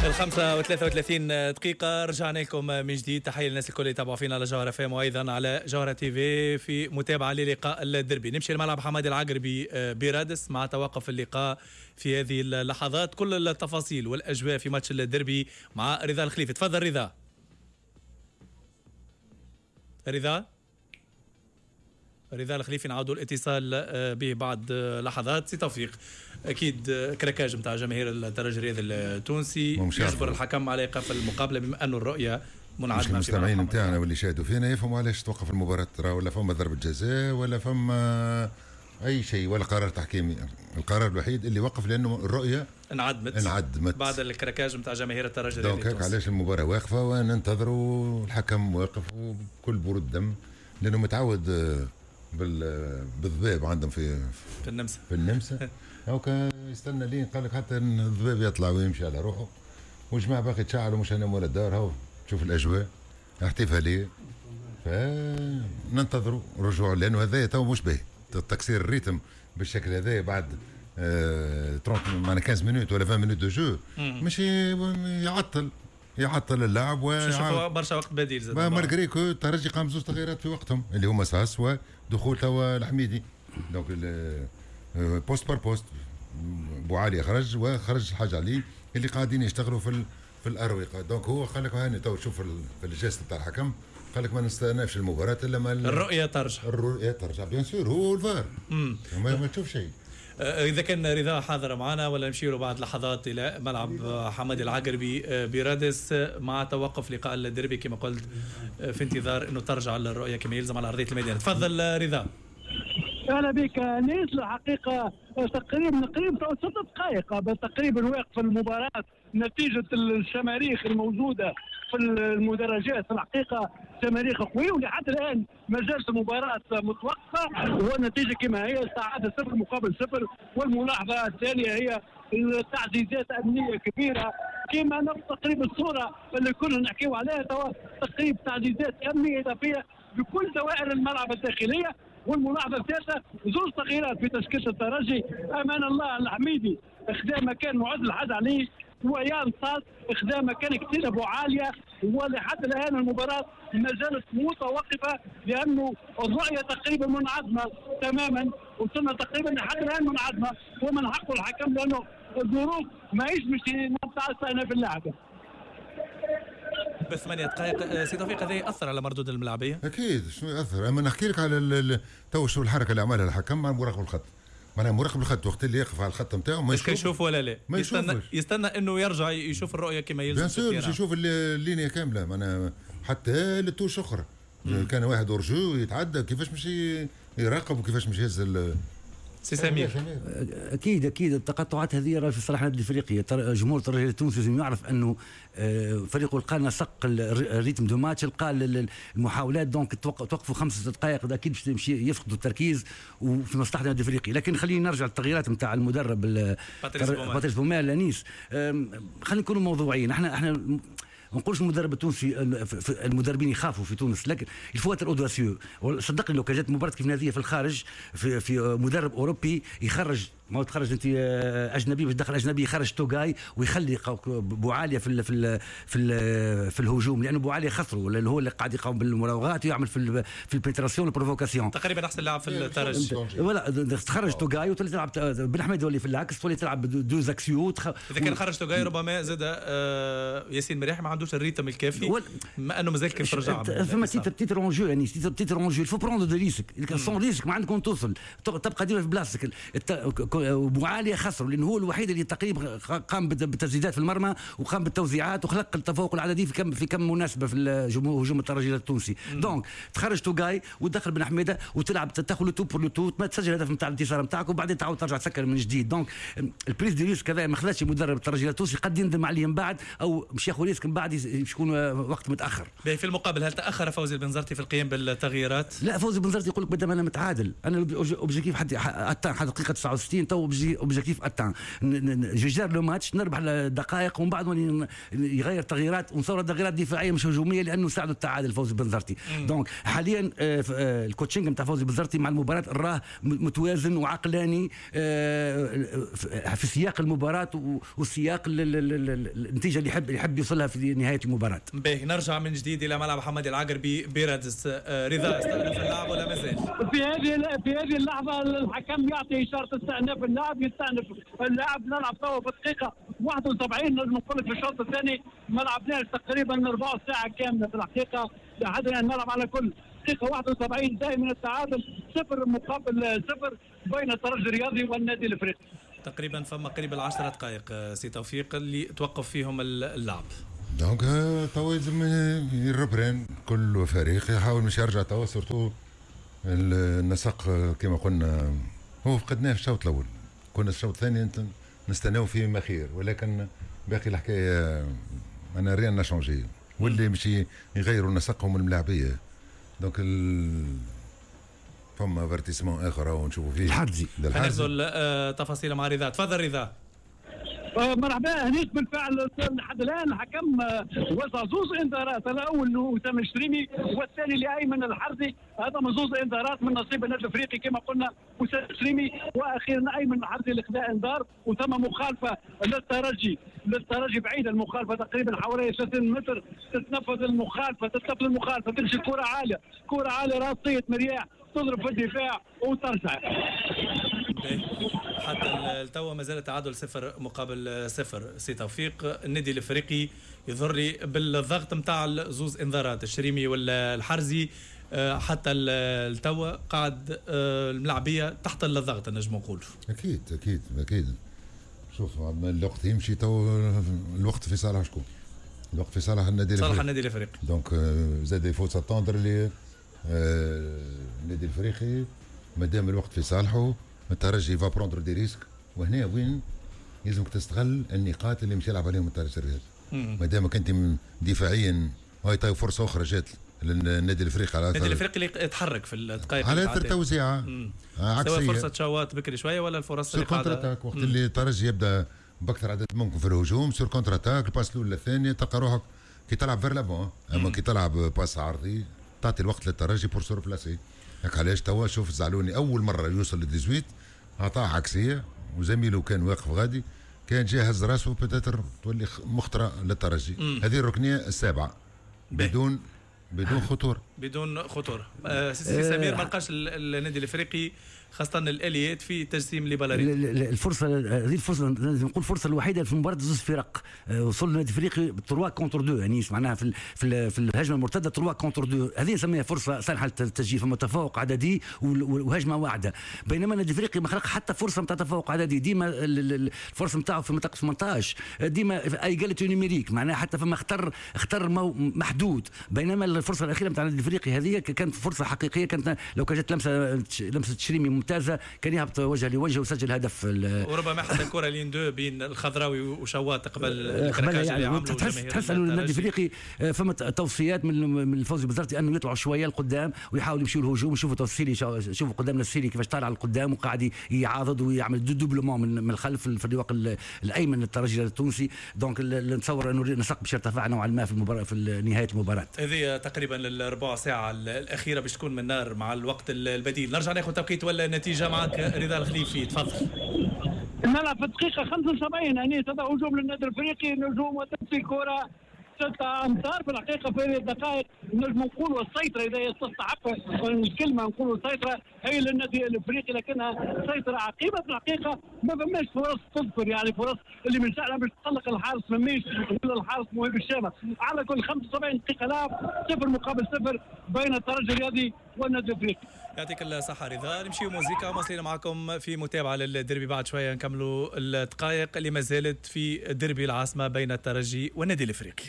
5:33 رجعنا لكم من جديد. تحية للناس الكل اللي يتابعوا فينا على جوهرة FM وأيضا على جوهرة TV في متابعة للقاء الدربي. نمشي لملعب حمادي العقربي برادس مع توقف اللقاء في هذه اللحظات. كل التفاصيل والأجواء في ماتش الدربي مع رضا الخليفي. تفضل رضا. رضا الخليفي نعاودوا الاتصال به بعد لحظات. سي توفيق، اكيد craquage نتاع جماهير الترجي الرياضي التونسي يجبر الحكم على ايقاف المقابلة بما انه الرؤية منعدمه. المستمعين نتاعنا واللي شاهدوا فينا يفهموا علاش توقف المباراة، ترى ولا فما ضربه جزاء ولا فما اي شيء ولا قرار تحكيمي. القرار الوحيد اللي وقف لانه الرؤية انعدمت بعد ال craquage نتاع جماهير الترجي الرياضي التونسي. علاش المباراة واقفة وننتظروا الحكم واقف وبكل برود دم، لانه متعود بالذباب عندهم في النمسا. في النمسا هاكا يستنى لين قال لك حتى الذباب يطلع ويمشي على روحه، والجماعة باقي تشعلوا مش انا ولا الدار. هاو تشوف الاجواء احتفالية، فننتظروا رجوع لانه هذا تو مش باهي تكسير ال rythme بالشكل هذا بعد 30 معنا 15 minutes ولا 20 minutes de jeu، مش يعطل اللعب و برشا وقت بديل زاد. malgré que الترجي قام زوج تغييرات في وقتهم اللي هما ساس ودخول توا الحميدي، donc poste par poste. بوعالي خرج وخرج الحاج علي اللي قاعدين يشتغلوا في الاروقه. donc هو قال لك هاني تو شوف في ال geste تاع الحكم، قال لك ما نستأنفش المباراة الا ما الرؤية ترجع. الرؤية ترجع bien sûr، هو الفار ما تشوف شيء. إذا كان رضا حاضر معنا ولا نمشي بعد لحظات إلى ملعب حمادي العقربي برادس مع توقف لقاء الديربي كما قلت، في انتظار أنه ترجع الرؤية كما يلزم على أرضية الميدان. تفضل رضا. أهلا بك نيس. الحقيقة تقريبا 6 دقائق تقريبا واقف المباراة نتيجة الشماريخ الموجودة في المدرجات. الحقيقة شماريخ قوية ولحد الآن ما زالت المباراة متوقفة والنتيجة كما هي تعادل 0-0. والملاحظة الثانية هي التعزيزات أمنية كبيرة كما نفس تقريبا الصورة اللي كنا نحكيو عليها، تقريبا تعزيزات أمنية إضافية بكل دوائر الملعب الداخلية. والملاحظة الثالثة زوج تغييرات في تشكيلة الترجي، أمان الله الحميدي خدا مكان معز الحاج علي، ويان صاد خدا مكان كتير ابو عالية. ولحد الآن المباراة ما زالت متوقفة لأنه الرؤية تقريبا منعدمة تماما، وصلنا تقريبا لحد الآن منعدمة، ومن حقه الحكم لأنه الظروف ماهيش مش نتاع في اللعبة. ب8 دقائق سي توفيق، هذا يأثر على مردود الملاعبية؟ أكيد شنو يأثر. أما نحكي لك على تو شو الحركة اللي عملها الحكم مع مراقب الخط، معناها مراقب الخط وقت اللي يقف على الخط نتاعو ما يشوف ولا لا، يستنى انه يرجع يشوف الرؤية كما يلزم. bien sûr باش يشوف ال ligne كاملة، معناها حتى لل touche اخرى كان واحد hors-jeu يتعدى كيفاش مش يراقب وكيفاش مش يهز سي سمير. اكيد اكيد التقاطعات هذه راه في صالح النادي الافريقي. جمهور الترجي التونسي لازم يعرف انه فريقه لقى نسق ال rythme de match، لقى المحاولات، donc توقفوا 5 دقائق اكيد باش يمشي يفقدوا التركيز وفي مصلحة النادي الافريقي. لكن خليني نرجع للتغييرات نتاع المدرب باتريس بومال لانيس. خلينا نكونوا موضوعيين، احنا ما نقولش المدرب التونسي المدربين يخافوا في تونس، لكن il faut être audacieux. صدقني لو كان جات مباراة كيف هذه في الخارج في مدرب اوروبي يخرج، ما هو تخرج انت اجنبي باش تدخل اجنبي، يخرج توغاي ويخلي بوعاليه في في في في الهجوم، لانه بوعاليه خسره لانه هو اللي قاعد يقوم بالمراوغات ويعمل في ال pénétration وال provocation. تقريبا احسن لاعب في الترجي. ولا تخرج توغاي وتولي تلعب بن حميد يولي في العكس، تولي تلعب deux axiaux. اذا كان خرج توغاي ربما زاد ياسين مريح ما عندوش ال rythme الكافي، ما انه مازال كيف رجع. فما titre en jeu، يعني titre en jeu، il faut prendre des risques، sans risque ما عندكم توصل، تبقى ديما في بلاصتك. بوعالية خسروا لأنه هو الوحيد اللي تقريبا قام بالتسديدات في المرمى وقام بالتوزيعات وخلق التفوق العددي في كم مناسبة في هجوم الترجي التونسي. donc تخرج توغاي وتدخل بن حميده وتلعب تاخذ le tout pour le tout، ما تسجل الهدف نتاع الانتصار نتاعك وبعدين تعاود ترجع تسكر من جديد. donc ال prise de risque هذا ما خلاش مدرب الترجي التونسي قد يندم عليه من بعد او مش ياخذ risque من بعد يكون وقت متاخر. في المقابل هل تاخر فوزي البنزرتي في القيام بالتغييرات؟ لا، فوزي البنزرتي يقول لك مادام انا متعادل، انا objectif حتى دقيقة 69 حاليا تو objectif atteint، je gère le match، نربح الدقائق ومن بعد يغير تغييرات، ونصور تغييرات دفاعية مش هجومية لانه ساعدوا التعادل فوزي بنزرتي. donc حاليا ال coaching نتاع فوزي بنزرتي مع المباراة راه متوازن وعقلاني في سياق المباراة وسياق النتيجة اللي يحب يوصلها في نهاية المباراة. باهي، نرجع من جديد الى ملعب حمادي العقربي برادس. رضا، استأنف اللعب ولا مازال؟ في هذه اللحظة الحكم يعطي اشارة استئناف اللعب، يستأنف اللعب. نلعب توا في الدقيقة 71. نجم نقول لك في الشوط الثاني ما لعبناش تقريبا ربع ساعة كاملة في الحقيقه، لحد الان نلعب على كل دقيقة 71. دائما التعادل 0-0 بين الترجي الرياضي والنادي الافريقي. تقريبا فما قريب ال10 دقائق سي توفيق اللي توقف فيهم اللعب. donc توا لازم ي reprend، كل فريق يحاول مش يرجع توا، surtout النسق كما قلنا هو فقدناه في الشوط الاول، كنا الشوط الثاني نستناو فيه ما خير، ولكن باقي الحكاية انا rien n'a changé، واللي مش يغيروا نسقهم الملاعبيه. donc فما افرتيسمون اخر ونشوفوا فيه. الحرزي. ناخذ التفاصيل مع رضا، تفضل رضا. مرحبا هنيك. بالفعل لحد الان الحكم وزع زوز انذارات، الاول لاسامة الشريمي والثاني لايمن الحرزي. هذا من زوز انذارات من نصيب النادي الافريقي، كما قلنا اسامة الشريمي واخيرا ايمن الحرزي اللي خذا انذار. وثم مخالفة للترجي، بعيدة المخالفة تقريبا حوالي 30 متر. تتنفذ المخالفه، تتنفذ المخالفه، تمشي كره عاليه، كره عاليه راسية مرياح تضرب في الدفاع وترجع. حتى التوا ما زال تعادل 0-0. سي توفيق، النادي الافريقي يظهر لي بالضغط نتاع زوز انذارات الشريمي والحرزي حتى التوا قاعد الملاعبيه تحت الضغط نجم نقول. اكيد اكيد اكيد. شوف الوقت يمشي تو، الوقت في صالح شكون؟ الوقت في صالح النادي صالح النادي الافريقي. donc زاد il faut s'attendre اللي النادي الافريقي مادام الوقت في صالحه الترجي va prendre des risques، وهنا وين يلزمك تستغل النقاط اللي مش يلعب عليهم الترجي الرياضي ما دامك انت دفاعيا. هاي طيب فرصة اخرى جات للنادي الافريقي على النادي الافريقي اللي يتحرك في الدقائق على اثر توزيعه عكسيه، سواء فرصة شوات بكري شوية ولا الفرص اللي contre-attaque، وقت اللي الترجي يبدا باكثر عدد ممكن في الهجوم sur contre-attaque، ال passe الاولى الثانية تلقى روحك كي تلعب vers l'avant، اما كي تلعب passe عرضي تعطي الوقت للترجي pour se replacer. هاك علاش توا شوف الزعلوني اول مرة يوصل لل 18 عطاه عكسية وزميله كان واقف غادي، كان جاهز راسه peut-être تولي مخطره للترجي. هذه الركنيه السابعة بدون خطورة. بدون خطوره. سي سمير، ما لقاش النادي الافريقي خاصة الاليات في تجسيم les balles arrêtées. الفرصة هذه الفرصه، لازم نقول الفرصة الوحيدة في مباراة زوج فرق. وصل النادي الافريقي 3 contre 2، يعني معناها في الهجمة المرتدة 3 contre 2، هذه نسميها فرصة صالحه للتسجيل. فما تفوق عددي وهجمه واعده، بينما النادي الافريقي ما خلق حتى فرصة نتاع تفوق عددي. ديما الفرصة نتاعو في منطقة 18، ديما égalité numérique، معناها حتى فما خطر محدود. بينما الفرصة الاخيرة نتاع النادي الافريقي هذه كانت فرصة حقيقيه، كانت لو كانت لمسه شريمي ممتازة كان يهبط وجه لوجه وسجل هدف. وربما حتى الكره l'une-deux بين الخضراوي وشواط قبل. قبل يعني تحس انه النادي الافريقي فما توصيات من الفوزي بنزرتي انه يطلعوا شوية لقدام ويحاولوا يمشيوا الهجوم. شوفوا السيلي، شوفوا قدامنا السيلي كيفاش طالع لقدام وقاعد يعاضد ويعمل doublement من الخلف في الرواق الايمن للترجي التونسي. donc نتصور انه النسق باش يرتفع نوعا ما في المباراة في نهاية المباراه. هذه تقريبا الربع ساعة الاخيرة باش تكون من نار مع الوقت البديل. نرجع ناخذ توقيت ولا النتيجة معك رضا الخليفي، تفضل. نلعب في الدقيقة 75 يعني هذا هجوم للنادي الافريقي، نجوم وتمشي الكرة 6 امتار. في الحقيقة في هذه الدقائق نجم نقولوا السيطره، اذا تستحق الكلمة نقولوا السيطرة هي للنادي الافريقي، لكنها سيطرة عقيمة. في الحقيقة ما فماش فرص تذكر، يعني فرص اللي من شأنها باش تقلق الحارس مميش ولا الحارس مهيب الشامخ. على كل 75 دقيقة لعب، 0-0 بين الترجي الرياضي والنادي الافريقي. يعطيك الصحة رضا. نمشيو موزيكا ومواصلين معكم في متابعة للديربي، بعد شوية نكملوا الدقائق اللي ما زالت في ديربي العاصمة بين الترجي والنادي الافريقي.